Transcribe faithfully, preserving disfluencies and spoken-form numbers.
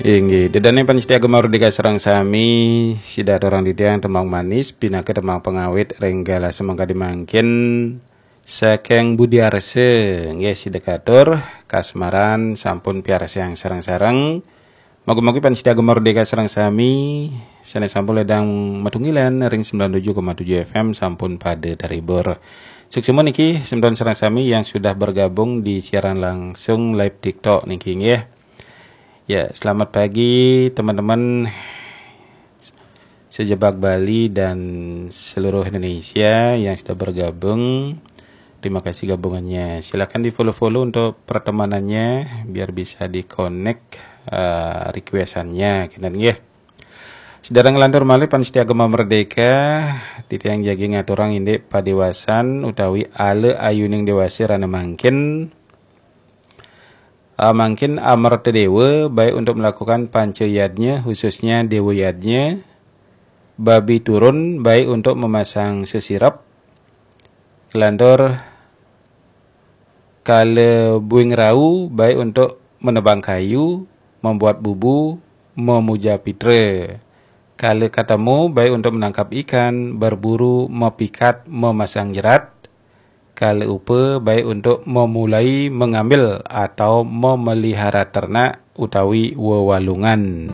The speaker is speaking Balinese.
Inggih, ida dané pamiarsa Gema Merdeka sareng sami, sida aturang titiang tembang manis pinaka tembang pangawit ring galah semengkadi mangkin saking Budi Arsa, nggih sida katur kasmaran sampun piarsayang sareng-sareng. Mugi-mugi pamiarsa Gema Merdeka sareng sami sané sampun ledang matunggilan ring sembilan tujuh koma tujuh F M sampun pada terhibur. Suksma niki semeton sareng sami yang sudah bergabung di siaran langsung live TikTok niki nggih. Ya, selamat pagi teman-teman sejebak Bali dan seluruh Indonesia yang sudah bergabung. Terima kasih gabungannya. Silakan di-follow-follow untuk pertemanannya biar bisa di-connect eh, requestannya, kinten nggih. Sida nglantur malih pamiarsa Gema Merdeka, titiang jagi ngaturang indik padéwasan utawi ala ayuning déwasa rahina mangkin. Ah, mangkin Amerta Déwa baik untuk melakukan panca yadnya, khususnya Déwa Yadnya, babi turun baik untuk memasang sesirep, nglantur kala buing rau baik untuk menebang kayu, membuat bubu, memuja pitra. Kala katemu baik untuk menangkap ikan, berburu, mepikat, memasang jerat. Kala upa baik untuk memulai, mengambil atau memelihara ternak utawi wewalungan.